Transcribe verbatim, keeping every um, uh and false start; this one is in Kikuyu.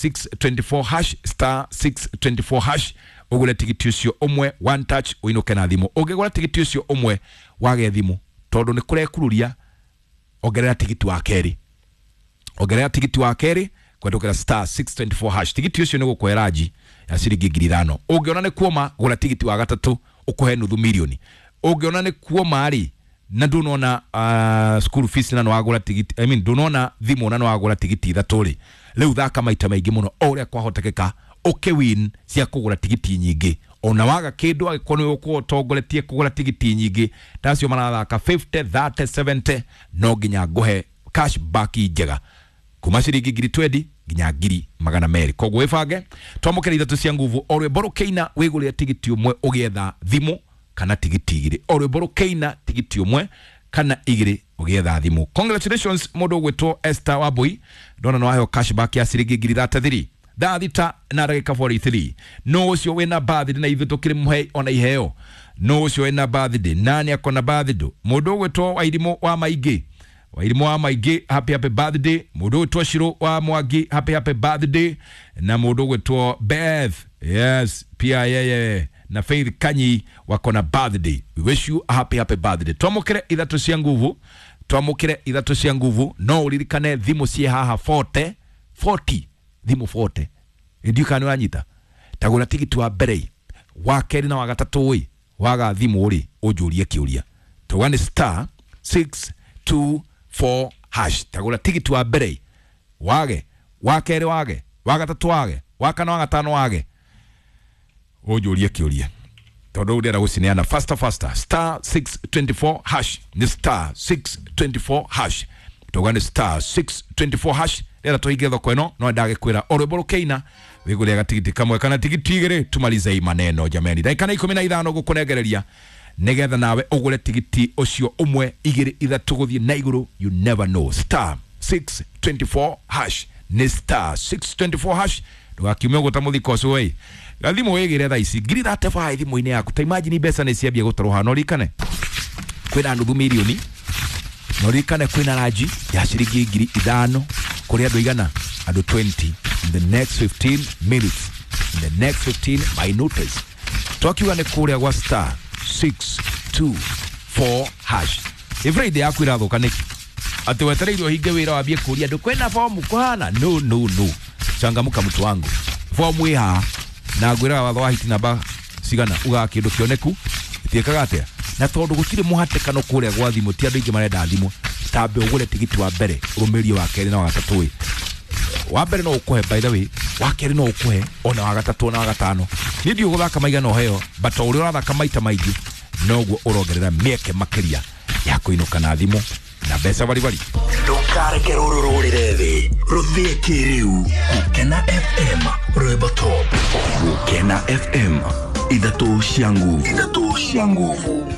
six twenty-four hash star six twenty-four hash ugure tigiti ucio umwe one touch uinuke na thimu. Ungigura tigiti ucio umwe wage thimu tondu ni kurekururia, ongerera tigiti wa keri, ongerera tigiti wa keri kwendukira star six twenty-four hash. Tigiti ucio ni gukweraji ya ciringi ngiri ithano. Ungiona ni kuoma gura tigiti wa gatatu ukuhe nuthu milioni. Ungiona ni kuoma ri na ndunona uh, school fees na nwagura tigiti, I mean ndunona thimu na nwagura tigiti ithatu ri, riu thaka maita maingi muno o uria kwahotekeka uke win cia kugura tigiti nyingi. Ona waga kindu agikorwo ni ukorwo utongoretie kugura tigiti nyingi tacio marathaka fifty thirty seventy no nginya nguhe cash back njega kuma ciringi ngiri twenty nginya ngiri magana meri. Koguo wibange twamukira ithatu cia nguvu o rwimbo rukiina wigurire tigiti umwe ugietha thimu kana tigiti igiri, o rwimbo rukiina tigiti umwe kana igiri ugietha thimu. Congratulations mundu ugwitwo Esther Wambui, ndona no waheo cash back ya ciringi ngiri thirty-three thaa thita na ndagika forty-three. No ucio wina birthday na ithuĩ tukiri muhe ona iheo. No ucio wina birthday nani akona birthday? Mundu ugwitwo Wairimu wa Maingi, Wairimu wa Maingi, happy happy birthday. Mundu ugwitwo Shiro wa Mwangi, happy happy birthday. Na mundu ugwitwo Beth, yes pia yeye na Faith Kanyi wakona birthday. We wish you a happy happy birthday. Twamukire ithatu cia nguvu, twamukire ithatu cia nguvu. No uririkane thimu cie haha forty forty thimu forty ndio kana wanyita tagura tigiti wa mbere wa keri na wa gatatu ĩ waga thimu ri unjurie kiuria tuga ni star six two four hash. Tagura tigiti wa mbere wage wa keri wage wa gatatu wage wa kana wa gatano wage unjurie kiuria tondu ndira gucineana faster faster star six twenty-four hash ni star six twenty-four hash tuga ni star six twenty-four hash. Rera tuhinge thoko ino no ndagikwira o rwimbo rukiina wigure gatigiti kamwe kana tigiti igiri tumalize i maneno jameni. Ndagika na ikumi na ithano gukunengereria nigetha nawe ugure tigiti ucio umwe igiri ithatu guthie na iguru. You never know. Star six twenty-four hash ni star six twenty-four hash. Ndugakiume uguta muthiko ucio wi gathimu wigire thaa ici ngiri thirty-five thimu-inĩ yaku. Ta imagine mbeca nĩ ciambia gũtarũha. No ririkane kwĩna nuthu milioni, no ririkane kwĩna ranji ya ciringi ngiri ithano kuri andu igana andu twenty in the next fifteen minutes, in the next fifteen minutes. Twakiuga nĩ kũrĩa gwa star six two four hash. Everyday yaku irathuka nĩkĩ? Atĩ wetereire ũhinge wĩra wambie kũria andũ kwĩna fomu kũhana? No no no, changamuka mtu wangu, fomu ĩ haha na ngwĩraga watho wa hiti namba cigana ugaga kĩndũ kĩoneku itiĩkaga atĩa. Na tondũ gũtirĩ mũhatĩkano kũrĩa gwa thimũ, ti andũ aingĩ marenda thimũ, tambe ũgũre tigiti wa mbere ũrũmĩrie wa kerĩ na wa gatatũ ĩ. Wa mbere no ũkũhe by the way, wa kerĩ no ũkũhe ona wa gatatũ na wa gatano. Niĩ ndiũĩ gũthaka maigana ũheo, but o ũrĩa ũrathaka maita maingĩ noguo ũrongerera mĩeke makĩria ya kũinũka na thimũ na mbeca baribari. Ndukareke rũrũ rũrĩre thĩ, rũthĩe kĩrĩu. Gũkena F M rwĩmbo top. Gũkena F M ithatũ cia nguvu, ithatũ cia nguvu.